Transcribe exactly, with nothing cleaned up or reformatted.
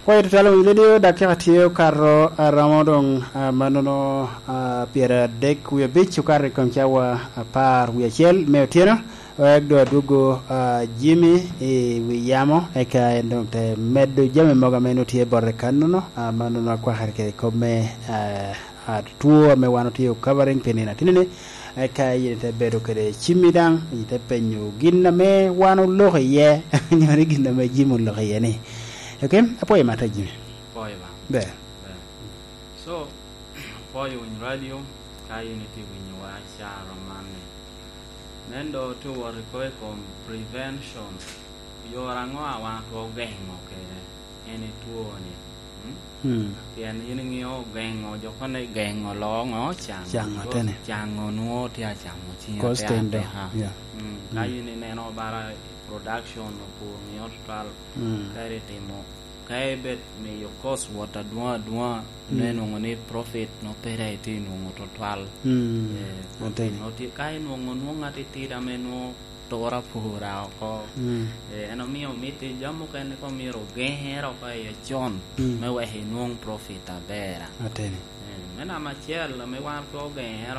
Pwoyo tutwal winy redio, dakika tye okato aromo doŋ, ah, manono, ah, pyeradek wie abic okato i kom cawa apar wie acel me otyeno. Wek doŋ adwogo, ah, Jimmy i wi yamo, eka en doŋ te medo jami mogo ame nwoŋo tye bote kannono, ah, manono akwakere kede kop me, ah, ah, two ame wan otye o covering pi nino atinni-ni. Eka yin ite bedo kede cimmi daŋ, ite penyo gin ame wan oloko iye, nyo ni gin ame Jimmy oloko iye ni. Ok, apwoyo matek, Jimmy. Apwoyo ba. Ber. Ber. So, apwoyo winy radio, ka yin itye winyowa caro man-ni. Nen do tye wot i ko i kom prevention. Yore aŋo a wan otwero geŋo kede en i two-ni? Mm? Mm. Pien yin iŋeo geŋo, jo kono geŋo loo ŋo? Caŋo. Caŋo, atene. Caŋo nwoŋo tye acamo ciŋ. Cause atek ten do. Ateka. Yeah. Mm. Ka yin ineno bara production opur ŋeo tutwal, mm, ka itimo, ka ibet miyo cost wot adwoŋ adwoŋ, mm, nen nwoŋo ni profit nwoŋo pere itye nwoŋo tutwal. Mm. Eh, atene. Nwoŋo tye, ka inwoŋo nwoŋo atitidi ame nwoŋo tura pura oko. Mm. Eh, en omio mitte jami mukene ko myero ogeŋere oko iye con, mm, me wek inwoŋ profit aber. Ateni. Eh, me namba acel, ame wan twero geŋere